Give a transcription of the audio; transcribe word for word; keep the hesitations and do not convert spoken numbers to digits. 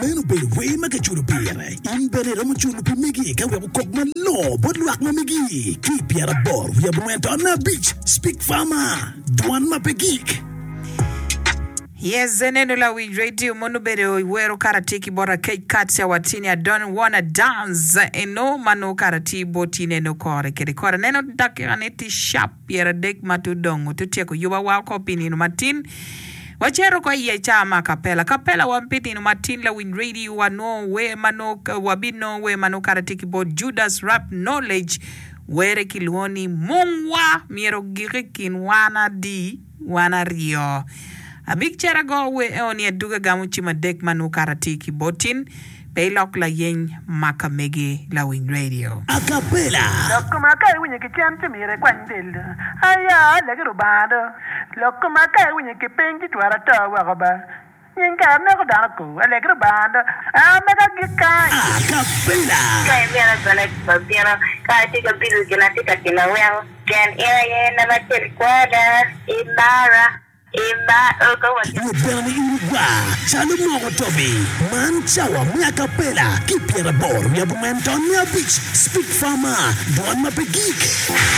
Meno obedo wer ma kiculo pire. In bene iromo culo pi megi ka wek okok malongo bot lwak ma megi. Ki i pyeraboro wiye abongwen ton abic, Speak Farmer, dwan ma pe gik. Yes, eneno lawiny radio mono obedo wero kara tye ki bot Akec Katia watini I don't wanna dance eno mano kara tye boti neno kore kede kore neno dakika ne tye sharp pyeradek ma tudongo tutyeko yuba wa oko pi nino matin wacito ko iye ca ma kapela kapela wa pi nino matin lawiny radio wanongo wer mano wabinongo wer mano kara tye ki bot Judas Rap Knowledge were kilwongo ni mungwa myero ogik i kin wan adi wan aryo Abik cito ago wer eoni aduga gamo cim adek ma nongo kara tye ki botin pe ilok layeny ma ka megi lawiny radio. Acapella. Lok koma ka iwinyo ki cen ci myero ikwany del do. Aya, alegi Rubanga do. Lok koma ka iwinyo ki piny ci twero ato woko ba. Nying kare neko dano ko. Alegi Rubanga do. A mega gik kany. Acapella. Ka imito bene wabino, ka atye ka bilo gin atye ka timo weko pien in aye namba acel i kwona, imara, imara ka watye. Nyut bene ni in igwar calo moko tobi. Man cawa me acapella ki pyeraboro wiye abongwen ton me abic Speak Farmer, dwan ma pe gik.